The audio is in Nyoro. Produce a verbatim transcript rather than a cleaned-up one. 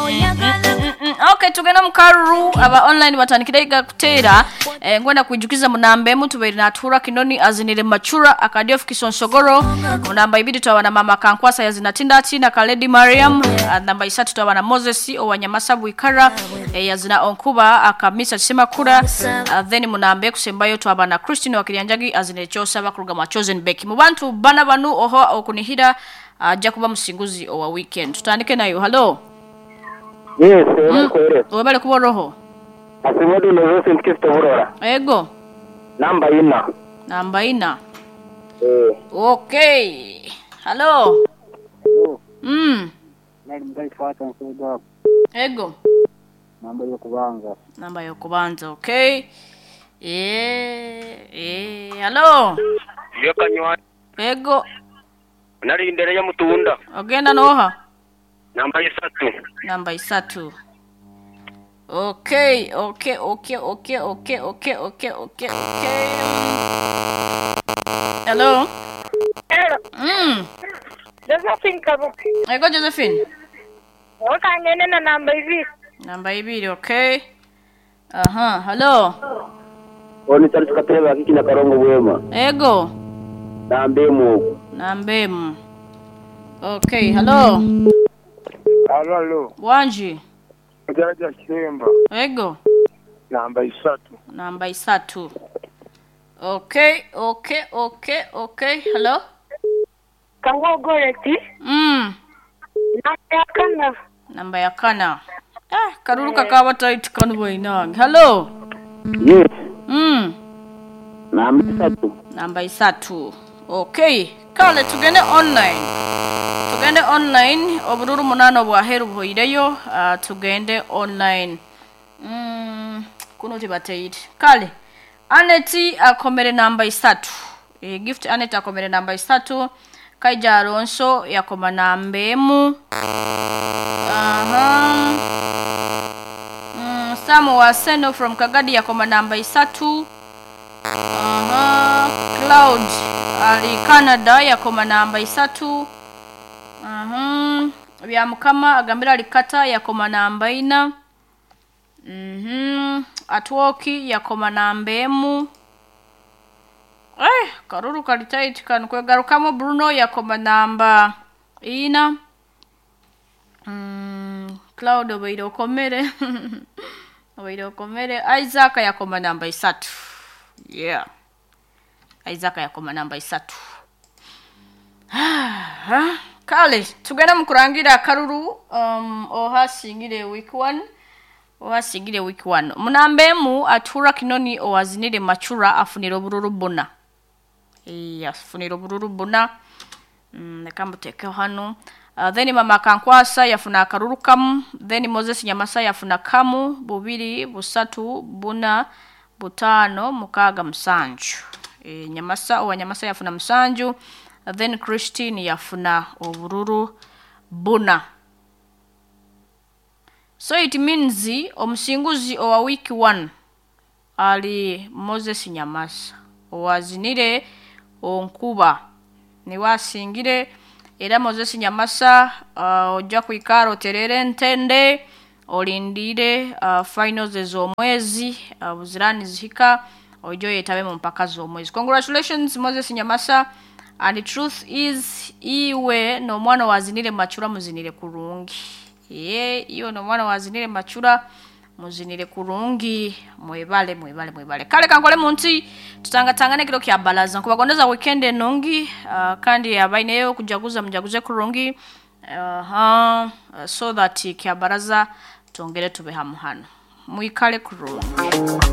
Oyagala Mm, okay, tugenda mu karuru. Aba online batandikire iga kuteera. eh, ngwenda kwijukiza munamba emu tubeire natuura Kinoni azinire Machura akadiofu Kisonsogoro. Munamba ibiri twaba na Mama Kankwasa yazina Tindati na Kaledi Mariam. Ah, namba isatu twaba na Moses owanyamasa Bwikara, eh, yazina Onkuba akamisa Kisemakura. Ah, then munamba ekusembayo twaba na Christine Wakirianjagi azinire Kyosaba kuruga mu Chosen Beck. Mu bantu bana banu oho okunihira ajja kuba musinguzi owa weekend. Tutandike nayo. Hello. Yes, mm. Webale kuba roho. Asimodi Josephine Kristo Burora. Ego. Namba ina. Namba ina. Eh. Okay. Hello. Mm. Nali mgali fata nsuda. Ego. Namba yokubanza. Namba yokubanza, okay. Eh, eh, hello. Yokanywa. Ego. Nali indere ya mutunda. Ogenda noha. Namba isatu. Namba isatu. Okay, okay, okay, okay, okay, okay, okay, okay, okay. Hello. Hello. Mm. Josephine Kabuki. Ego Josephine. Okangene na namba ibiri. Namba ibiri, okay. Aha, hello. Oni Charles Kateba kiki na Karongo Bwema. Ego. Namba emu. Namba emu. Okay, hello. Alo, alo. Wanji. Jaraja Kiremba. Ego. Namba isatu. Namba isatu. Okay, okay, okay, okay. Hello. Kango Goreti. Mm. Namba ya kana. Namba ya kana. Ah, karuru kakaba tight kanu bwainange. Hello. Yes. Mm. Namba isatu. Namba isatu. Okay. Kale tugende online. Tugende online obururu munano bwaheru buhoireyo. Uh, tugende online. Mm, kuno tibateire. Kale Aneti akomere namba isatu. E, Gift Anet akomere namba isatu. Kaija Alonso yakoma namba emu. Aha. Mm, Samu Waseno from Kagadi yakoma namba isatu. Aha. Cloud ali Canada yakoma namba isatu. Aha. Bya Mukama agambira ali Kata yakoma namba ina. Mhm. Atwoki yakoma namba emu. Eh, karuru kali tight kano kwegarukamo. Bruno yakoma namba ina. Mm, Cloud obaire okomere. Obaire okomere. Isaac yakoma namba isatu. Yeah. Isaac yakoma namba isatu. Ah, kale tugenda mu kurangira akaruru um, ohasingire week one. Ohasigire week one. Munamba emu atura Kinoni owazinire Machura afunira obururu buna. Eh, afunira obururu buna. Mm, leka mbutekeho hano. Uh, then Mama Kankwasa yafuna akaruru kamu. Then Moses Nyamasa yafuna kamu, bubiri, busatu, buna, butano, mukaga, musanju. E, Nyamasa owa Nyamasa yafuna musanju. Uh, then Christine yafuna obururu buna. So it means omusinguzi owa week one ali Moses Nyamasa owazinire Onkuba niwe asingire. Era Moses Nyamasa, uh, ojja kwikara oterere entende olindire uh, finals ez'omwezi, uh, buzirani zihika ojja oyetabe mu mpaka z'omwezi. Congratulations, Moses Nyamasa. And the truth is, iwe n'omwana wazinire Machura muzinire kurungi. Ye, iwe n'omwana wazinire Machura muzinire kurungi. Mwebale, mwebale, mwebale. Kale kankole munti tutangatangane kiro kya balaza. Nkubagondeza weekend enungi, uh, kandi abaineyo kujaguza mujaguze kurungi, uh, uh, so that kya baraza tongere tube hamu hano. Mwikale kurungi.